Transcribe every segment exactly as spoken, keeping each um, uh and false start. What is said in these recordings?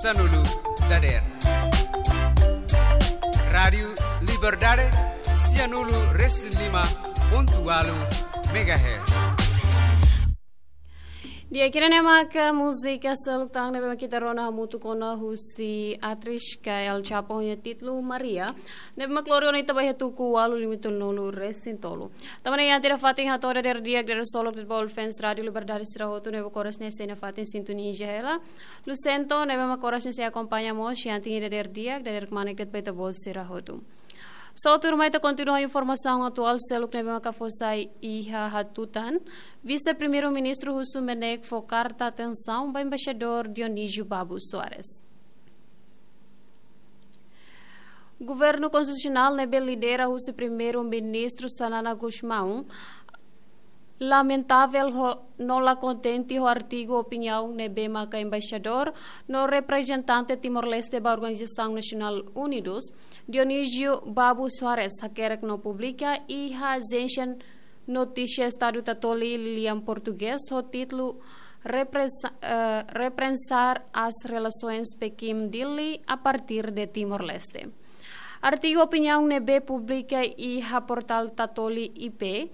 Sanulu dader. Rádiu Liberdade, sianulu resin lima pontu walu megahertz. Di'ak, ida-ne'e maka múzika seluk tan ne'ebé mak ita rona hamutuk ona husi atriz Kay El Chapo nia títulu Maria. Ne'ebé mak lori ona ita ba iha tuku ualu limitun nulu resin tolu. Tanba ne'e iha ita-nia fatin hato'o dader di'ak, dader solok, dader ba fans Rádiu Liberdade sira hotu ne'ebé mak oras ne'e sei nafatin sintonia hela. Lucento ne'ebé mak oras ne'e sei akompaña mós iha ita-nia dader di'ak, dader kmanek de'it ba ita-boot sira hotu. Só tuirmai ita kontinua informasaun atuál seluk ne'ebé maka fó sai iha hatutan. Vise-Primeiru-Ministru husu MNEK fó karta atensaun ba Embaixadór Dionísio Babo Soares. Governu Konstitusionál ne'ebé lidera husi Primeiru-Ministru Xanana Gusmão lamentavel ho, no la kontente ho artigu opiniaun ne'ebé maka embaixadór no reprezentante Timor-Leste ba Organizasaun Nasionál Unidus, Dionísio Babo Soares, hakerek no publika iha ajénsia notísia Estadu Tatoli Lilian Portugés ho títulu Reprensa-, eh, Repensar as Relações Pequim-Dili a Partir de Timor-Leste. Artigu opiniaun ne'ebé publika iha portál Tatoli I P,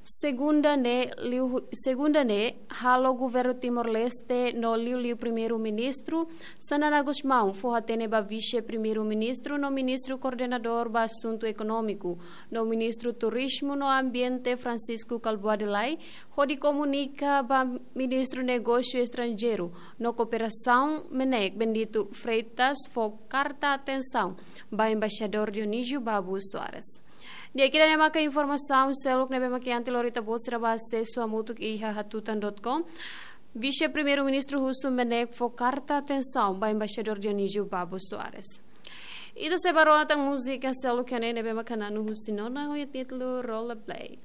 segunda ne'e liu, segunda ne'e halo Governu Timor-Leste no liuliu Primeiru-Ministru Xanana Gusmão fó-hatene ba Vise-Primeiru-Ministru no Ministru Koordenadór ba Asuntu Ekonómiku no Ministru Turizmu no Ambiente Francisco Kalbuadi Lay, hodi komunika ba Ministru Negósiu Estranjeiru no Kooperasaun MNEK Bendito Freitas fó karta atensaun ba Embaixadór Dionísio Babo Soares. Di'ak, ida-ne'e maka informasaun seluk ne'ebé mak iha ita-nia lori, ita-boot sira bá asesu hamutuk iha hatutan dot com. Vise-Primeiru-Ministru husu MNEK fó karta atensaun ba Embaixadór Dionísio Babo Soares. Ita sei bá rona tan múzika seluk iha ne'e ne'ebé maka na'anu husi nona ho títulu Rollerblade.